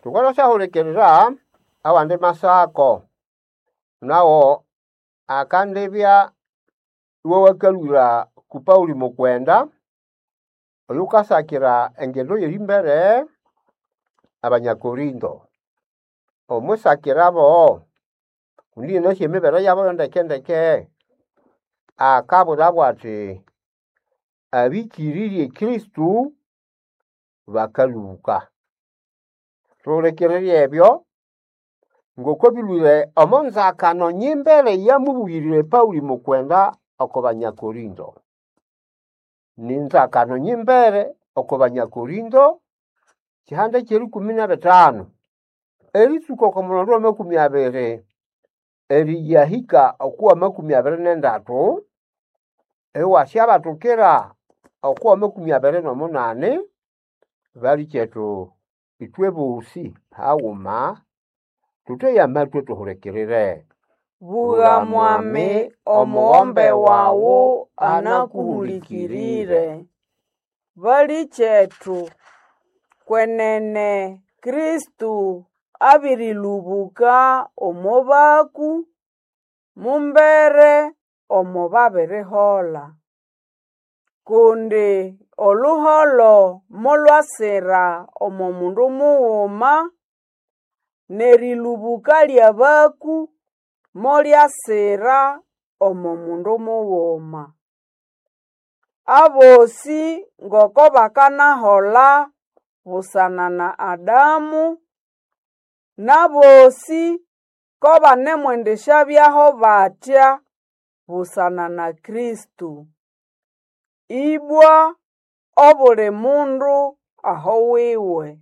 Thukathasyahulikirira awandi masako nawo akandibya iwawakalhwira ku Pauli mukwenda oyukasakira engendo y'erimbere Abanyakorinto. Omwisakirabo kundi inasi emibere yabo yo ndeke-ndeke, akabwirabo athi abĩkĩrĩrye Kristo bakalũbũka. Thuhulikirire ebyo ngoko bilwire omo nzakano nyimbere eyamubugirire Pauli mukwenda oko Banyakorinto. Ni nzakano nyimbere oko Banyakorinto kihanda ky'erikumi n'ebitano eritsuka oko mulonde w'amakumi abiri eriyahika oko w'amakumi abiri n'endatu iwasyabathukira oko w'amakumi abiri n'omunani. Balikyethu ithwe bosi haghuma thutheye amatwi thuhulikirire. Bugha mwami, omughombe wawu anakuhulikirire. Balikyethu, kwenene Kristo abĩrĩlũbũka omo baku, mumbere omo babirihola. Kundi oluholo molwasira omo mundu mughuma, n'erĩlũbũka ly'abaku molyasira omo mundu mughuma. Abosĩ ngoko bakanahola busana na Adamu, n'abosĩ ko banemwendisyabyaho batya busana na Kristo. Ibwa obuli mundu aho wiwe.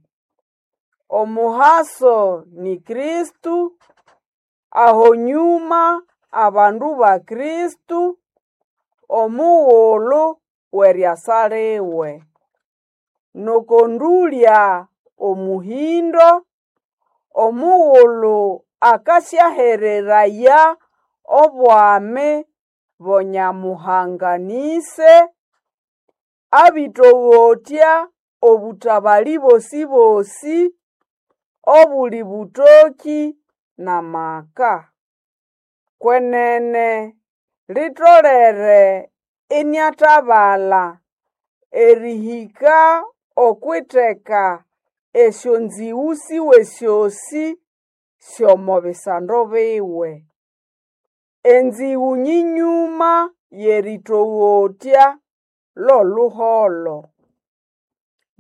Omuhaso ni Kristo, aho nyuma abandu ba Kristo, omughulu w'eriasa liwe. N'oko ndũlya omuhĩndo, omughulu akasyahereraya obwami bo Nyamuhanga n'Ise, abĩtogotya obũtabalĩ bosĩ-bosĩ, obuli bũtokĩ n'amaka. Kwenene litolere iniatabala erihika okw'itheka esyonzĩgũ siwe syosĩ sy'omo bisando biwe. Enzĩgũ nyĩnyũma y'erĩtogotya lw'oluholo.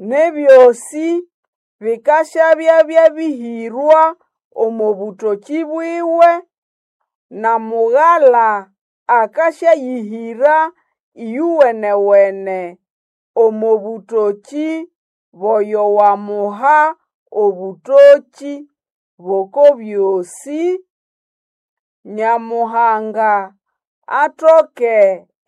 N'ebyosĩ bikasyabya byabĩhĩrwa omo bũtokĩ bwiwe, na Mugala akasyayĩhĩra ĩyowene-wene omo bũtokĩ bw'oyo wamuha obũtokĩ bw'oko byosĩ, Nyamuhanga atoke